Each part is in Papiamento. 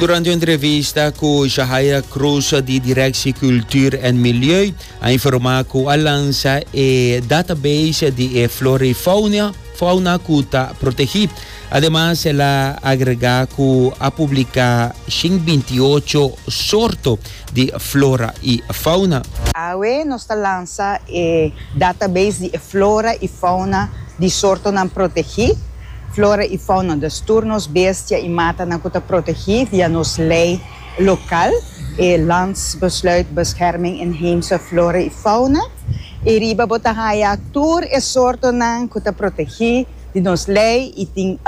Durante un entrevista cu Shahaira Croes di Directie Cultuur en Milieu a informa cu a lansa e database di e flora y fauna, fauna cu ta protegi. Ademas el a agrega cu a publica 128 sorto di flora y fauna. Awe nos ta lansa e database di e flora y fauna di sortonan protegi. Flora y fauna, dus tur nos bestia y matanan cu ta protegi via nos ley local, e Landsbesluit Bescherming Inheemse Flora y Fauna. Y riba bo ta haya tur e sortonan cu ta protegi di nos ley y tin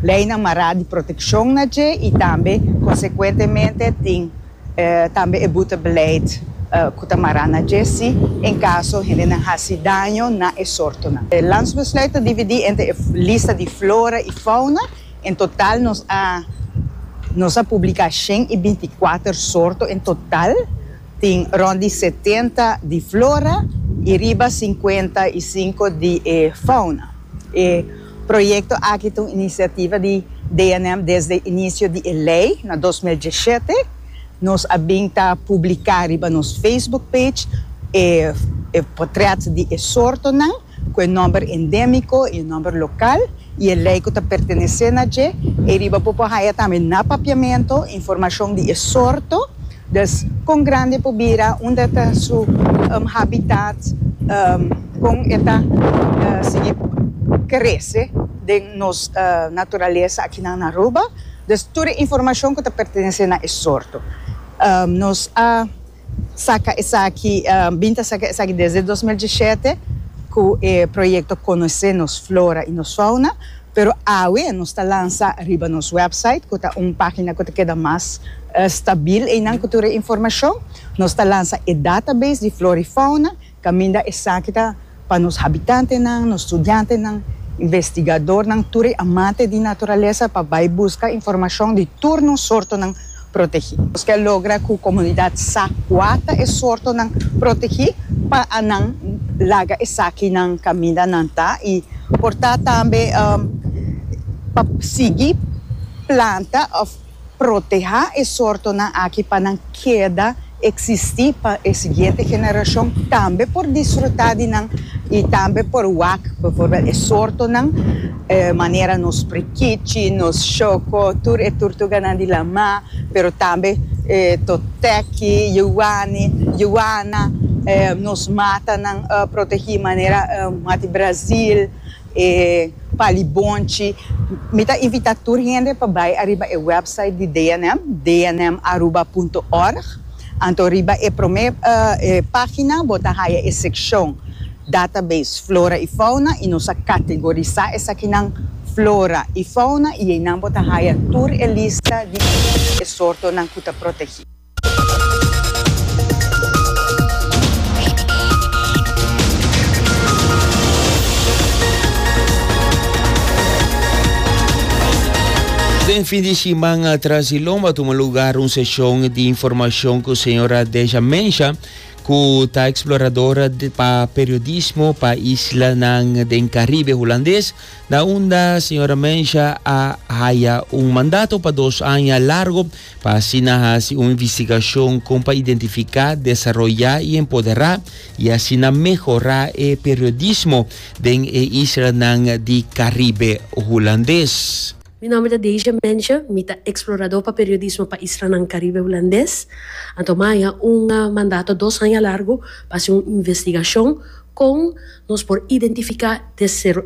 leynan mará di proteccion na dje y tambe consecuentemente tin tambe e boetebeleid cu ta mará na dje si en caso hendenan haci daño na e sortonan. E Landsbesluit ta dividi entre e lista di flora y fauna. En total nos a nos a publica 124 sorto en total. Tin rond di 70 di flora y riba 55 di e fauna. E proyecto aki ta un iniciativa di DNM desde inicio di e ley na 2017. Nos a bin ta publica riba nos Facebook page e e potret di e sortonan cu e nomber endemico y e nomber local y e ley cu ta pertenece na dje. E riba bo por haya tambe na Papiamento informacion di e sorto. Dus kon grandi e por bira, unda ta su habitat, kon e ta sigui krese den nos naturalesa akinan na Aruba. Dus tur e informashon ku ta pertenesé na e sorto. Nos a saka esaki, bin ta saka esaki desde 2017 ku e proyekto Konosé nos flora i nos fauna. Pero awe nos ta lansa riba nos website, ku ta un página ku ta keda mas stabil einan ku tur e informashon. Nos ta lansa e database di flora i fauna, kaminda esaki ta pa nos habitantenan, nos studiantenan, investigadornan, tur e amante di naturalesa pa bai buska informashon di tur nos sortonan protegí. Nos ke logra ku komunidat sa kua ta e sortonan protegí pa nan laga esakinan kaminda nan ta i por ta tambe pa sigui planta òf protehá e sortonan aki pa nan keda eksistí pa e siguiente generashon tambe por disfrutá di nan i tambe por wak bijvoorbeeld e sortonan manera nos prikichi, nos shoko, tur e turtuganan di lamá, pero tambe e toteki, yuwani, yuwana, nos matanan protegí manera mati Brazil, e palibonchi. Mi ta invitá tur hende pa bai ariba e website di DNM, dnmaruba punto org. Anto riba e promé página bo ta haya e sekshon Database Flora i Fauna i nos a kategorisá esakinan Flora i Fauna i einan bo ta haya tur e lista di e sortonan ku ta protegí. Den fin di siman atras di lomba a tuma lugar un seshon di informashon ku señora Deja Mensha ku ta exploradora pa periodismo pa islanan den Caribe Hulandes na unda señora Mensha a haya un mandato pa dos aña largo Pa asina hasi un investigashon kon pa identifiká, desaroyá i empoderá i asina mehorá e periodismo den e islanan di Karibe Hulandes. Mi nòmber ta Deisha Mensje, mi ta eksploradó pa periodismo pa islanan Karibe Hulandes. Anto mi a haña un mandato dos aña largu pa hasi un investigashon Kon nos por identifiká,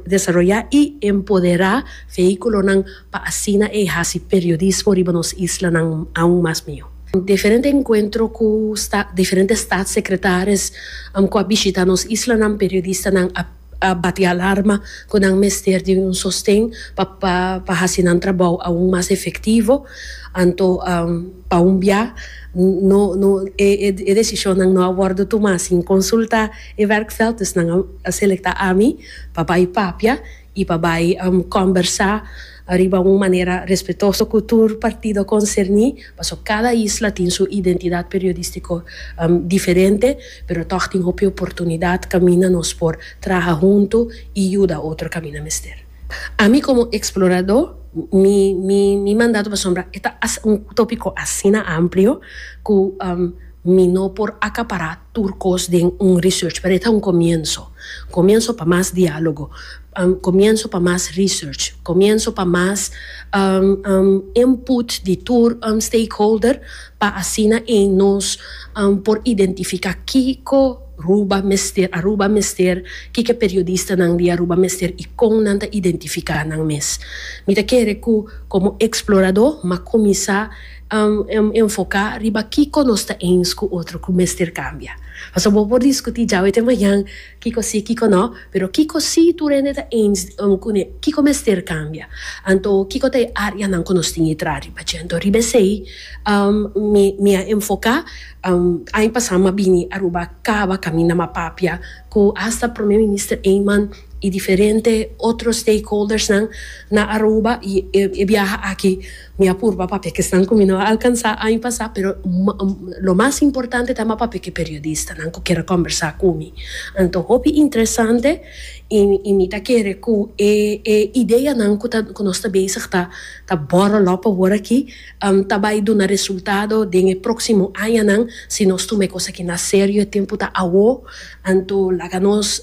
desaroyá i empoderá vehíkulonan pa asina ei hasi periodismo riba nos islanan aun mas mihó? Diferente enkuentro ku diferente staatssecretaris ku a bishitá nos islanan, periodistanan a bati alarma ku nan mester di un sosten pa pa hasi nan trabou aun mas efektivo. Anto pa un bia no no e e desishonnan no a wòrdu tumá sin konsultá e werkveld, dus nan a selektá ami pa bai papia i pa bai kòmbersá riba un manera respetuoso ku tur partido konserní, pasobra kada isla tin su identidat periodístiko diferente, pero tòg tin hopi oportunidat kaminda nos por traha huntu i yuda otro kaminda mester. Ami komo eksploradó. Mi mi mi mandato pasobra e ta un tópiko asina amplio ku mi no por akapará tur kos den un research, pero e ta un komienso. Komienso pa mas diálogo, komienso pa mas research, komienso pa mas input di tur stakeholder pa asina ei nos por identifiká kiko Ruba mester, Aruba mester, kiko e periodistanan di Aruba mester i kon nan ta identifiká nan mes. Mi ta kere ku komo eksploradó m'a kuminsá enfoká riba kiko nos ta eens ku otro ku mester kambia. Pasobra bo por diskutí djawe te mañan kiko sí, kiko no, pero kiko sí tur hende ta eens kuné, kiko mester kambia. Anto kiko ta e áreanan ku nos tin e traha riba dje. Anto riba esei mi mi a enfoká. Aña pasá mi a bini Aruba kaba kaminda mi a papia ku asta Prome Minister Eman i diferente otro stakeholdersnan na Aruba i e biaha aki mi a purba papia ku esnan ku mi no a alkansá aña pasá pero lo mas importante ta mi a papia ku e periodistanan ku kier a kòmbersá ku mi. Anto hopi interesante i mi ta kere ku e e ideanan ku ta ku nos ta bezig ta ta bòròl òp awor aki ta bai duna resultado den e próksimo añanan si nos tuma e kos aki na serio e tempu ta awo. Anto laga nos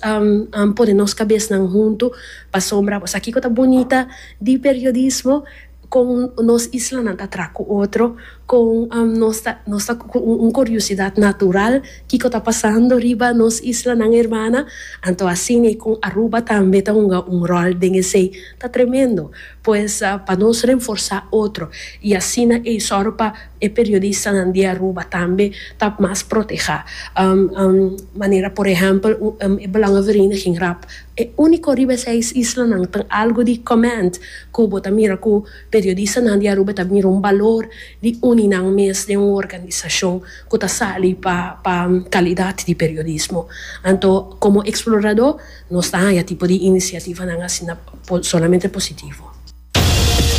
pone nos kabesnan huntu pasobra bo sa kiko ta bunita di periodismo, kon nos islanan ta traha ku otro, kon nos ta nos ta ku un kuriosidat natural kiko ta pasando riba nos islanan hermana. Anto asina i kon Aruba tambe ta hunga un ròl den esei ta tremendo. Pues pa nos renforsá otro i asina ei sòru pa E periodistanan di Aruba tambe ta mas protehá. Manera por ehèmpel e Belangenvereniging rap. E úniko riba e seis islanan ta algu di comment ku bo ta mira ku periodistanan di Aruba ta mira un balor di uni nan mes den un organisashon ku ta sali pa pa kalidat di periodismo. Anto komo eksploradó nos ta haña tipo di inisiativanan asina solamente positivo.